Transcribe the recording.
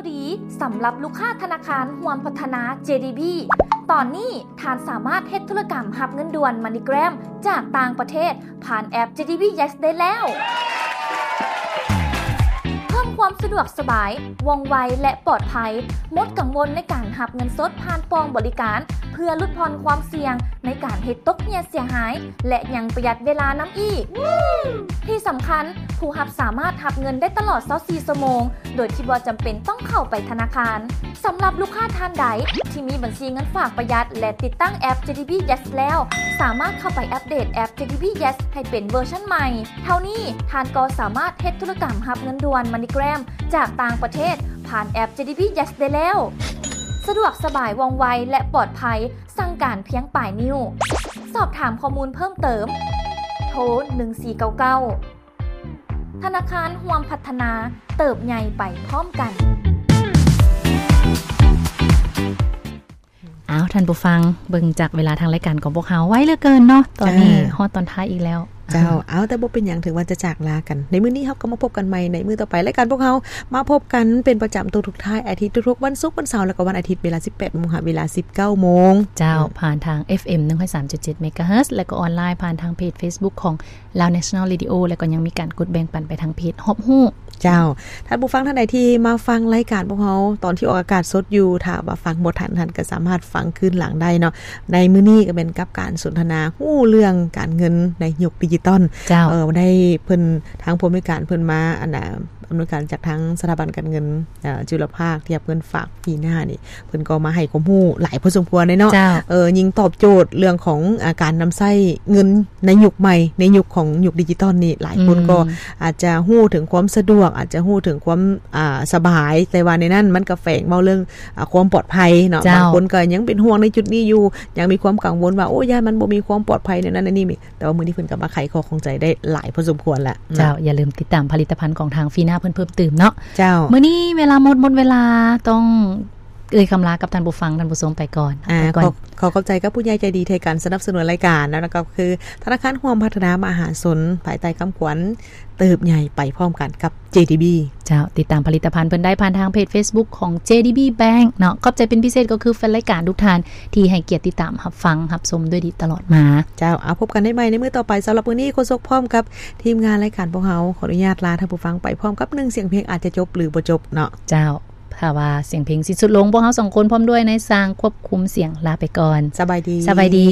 ດີສຳລັບລູກຄ້າທະນາຄານຮ່ວມພັດທະນາ ເຈດີບີ. ຕອນນີ້ທ່ານສາມາດເຮັດທຸລະກຳຮັບເງິນດ່ວນ MoneyGram ຈາກຕ່າງປະເທດຜ່ານແອັບ ເຈດີບີ Yes ໄດ້ແລ້ວ. ເພີ່ມຄວາມສະດວກສະບາຍ, ວ່ອງໄວ ແລະ ປອດໄພ, ໝົດກັງວົນໃນການຮັບເງິນສົດຜ່ານປ່ອງບໍລິການ ເພື່ອຫຼຸດຜ່ອນຄວາມສ່ຽງໃນການເຮັດຕົກເຫຍເສຍຫາຍ ແລະ ຍັງປະຢັດເວລານຳອີກ. ທີ່ສຳຄັນ, ຜູ້ຮັບສາມາດຮັບເງິນໄດ້ຕະຫຼອດຊາວສີ່ຊົ່ວໂມງ ໂດຍທີ່ບໍ່ຈຳເປັນຕ້ອງເຂົ້າໄປທະນາຄານ. ສຳລັບລູກຄ້າທ່ານໃດທີ່ມີບັນຊີເງິນຝາກປະຢັດ ແລະ ຕິດຕັ້ງແອັບ ເຈດີບີ Yes ແລ້ວ, ສາມາດເຂົ້າໄປອັບເດດແອັບ ເຈດີບີ Yes ໃຫ້ເປັນເວີຊັນໃໝ່. ເທົ່ານີ້, ທ່ານກໍສາມາດເຮັດທຸລະກຳຮັບເງິນດ່ວນ MoneyGram ຈາກຕ່າງປະເທດຜ່ານແອັບ ເຈດີບີ Yes ໄດ້ແລ້ວ. ສະດວກສະບາຍ, ວ່ອງໄວ ແລະ ປອດໄພ, ສັ່ງການພຽງປາຍນິ້ວ. ສອບຖາມຂໍ້ມູນເພີ່ມເຕີມ, ໂທ ໜຶ່ງສີ່ເກົ້າເກົ້າ. ທະນາຄານຮ່ວມພັດທະນາ, ເຕີບໃຫຍ່ໄປພ້ອມກັນ. ອ້າວ ທ່ານຜູ້ຟັງ, ເບິ່ງຈາກເວລາທາງລາຍການຂອງພວກເຮົາ ໄວເຫຼືອເກີນເນາະ, ຕອນນີ້ ເອີ ຮອດຕອນທ້າຍອີກແລ້ວ. ເຈົ້າ, ເອົາ ແຕ່ບໍ່ເປັນຫຍັງ, ຖືວ່າຈະຈາກລາກັນໃນມື້ນີ້, ເຮົາກໍມາພົບກັນໃໝ່ໃນມື້ຕໍ່ໄປ. ລາຍການພວກເຮົາມາພົບກັນເປັນປະຈຳທຸກໆທ້າຍອາທິດ, ທຸກໆວັນສຸກ, ວັນເສົາ ແລ້ວກໍວັນອາທິດ, ເວລາສິບແປດໂມງຫາເວລາສິບເກົ້າໂມງ. ເຈົ້າ, ອືມ ຜ່ານທາງ ເອັຟເອັມ ໜຶ່ງຮ້ອຍສາມຈຸດເຈັດ ເມກາເຮີດ ແລ້ວກໍອອນລາຍຜ່ານທາງເພຈ Facebook ຂອງ Lao National Radio ແລ້ວກໍຍັງມີການກົດແບ່ງປັນໄປທາງເພຈຮອບຮູ້. ເຈົ້າ, ທ່ານຜູ້ຟັງທ່ານໃດທີ່ມາຟັງລາຍການພວກເຮົາຕອນທີ່ອອກອາກາດສົດຢູ່, ຖ້າວ່າຟັງບໍ່ທັນ, ທ່ານກໍສາມາດຟັງຄືນຫຼັງໄດ້ເນາະ. ໃນມື້ນີ້ກໍແມ່ນກັບການສົນທະນາຮູ້ເລື່ອງການເງິນໃນຍຸກດິຈິຕອນ. ເຈົ້າ, ເອີ ໄດ້ເພິ່ນ ທາງຜູ້ອຳນວຍການເພິ່ນມາ ອັນນ່າ ອຳນວຍການຈາກທາງສະຖາບັນການເງິນ ເອີ ຈຸລະພາກ ທີ່ຮັບເງິນຝາກ ຟີນາ ນີ້ ເພິ່ນກໍມາໃຫ້ຄວາມຮູ້ຫຼາຍພໍສົມຄວນເລີຍເນາະ. ເຈົ້າ, ເອີ ຍິ່ງຕອບໂຈດເລື່ອງຂອງ ອາ ການນຳໃຊ້ເງິນໃນຍຸກໃໝ່, ໃນຍຸກຂອງຍຸກດິຈິຕອນນີ້, ຫຼາຍຄົນ ອືມ ກໍອາດຈະຮູ້ເຖິງຄວາມສະດວກ, ອາດຈະຮູ້ເຖິງຄວາມ ອາ ສະບາຍ, ແຕ່ວ່າໃນນັ້ນມັນກໍແຝງເວົ້າເລື່ອງ ອາ ຄວາມປອດໄພເນາະ. ເຈົ້າ, ບາງຄົນກໍຍັງເປັນຫ່ວງໃນຈຸດນີ້ຢູ່, ຍັງມີຄວາມກັງວົນວ່າ ໂອ້ ຢ້ານມັນບໍ່ມີຄວາມປອດໄພ ແນວນັ້ນແນວນີ້. ແຕ່ວ່າມື້ນີ້ເພິ່ນກໍມາໄຂຂໍ້ຂ້ອງໃຈໄດ້ຫຼາຍພໍສົມຄວນລະເນາະ. ເຈົ້າ, ຢ່າລືມຕິດຕາມຜະລິດຕະພັນຂອງທາງຟີນາເພິ່ນເພີ່ມຕື່ມເນາະ. ເຈົ້າ, ມື້ນີ້ເວລາໝົດ, ໝົດເວລາ, ຕ້ອງເອີ່ຍຄຳລາກັບທ່ານຜູ້ຟັງ, ທ່ານຜູ້ຊົມໄປກ່ອນ. ອາ ຂໍ ຂໍຂອບໃຈກັບຜູ້ໃຫຍ່ໃຈດີໃນການສະໜັບສະໜູນລາຍການ, ແລ້ວກໍຄືທະນາຄານຮ່ວມພັດທະນາມະຫາຊົນ ພາຍໃຕ້ຄຳຂວັນ ເຕີບໃຫຍ່ໄປພ້ອມກັນກັບ ເຈດີບີ. ເຈົ້າ, ຕິດຕາມຜະລິດຕະພັນເພິ່ນໄດ້ຜ່ານທາງເພຈ Facebook ຂອງ ເຈດີບີ Bank ເນາະ. ຂອບໃຈເປັນພິເສດກໍຄືແຟນລາຍການທຸກທ່ານທີ່ໃຫ້ກຽດຕິດຕາມຮັບຟັງຮັບຊົມດ້ວຍດີຕະຫຼອດມາ. ເຈົ້າ, ເອົາ ພົບກັນໄດ້ໃໝ່ໃນມື້ຕໍ່ໄປ. ສຳລັບມື້ນີ້ ໂຄສົກພ້ອມກັບທີມງານລາຍການພວກເຮົາ ຂໍອະນຸຍາດລາທ່ານຜູ້ຟັງໄປພ້ອມກັບໜຶ່ງສຽງເພງ, ອາດຈະຈົບ ຫຼື ບໍ່ຈົບເນາະ. ເຈົ້າ, ຖ້າວ່າສຽງເພງສິ້ນສຸດລົງ, ພວກເຮົາສອງຄົນພ້ອມດ້ວຍນາຍຊ່າງຄວບຄຸມສຽງລາໄປກ່ອນ. ສະບາຍດີ. ສະບາຍດີ.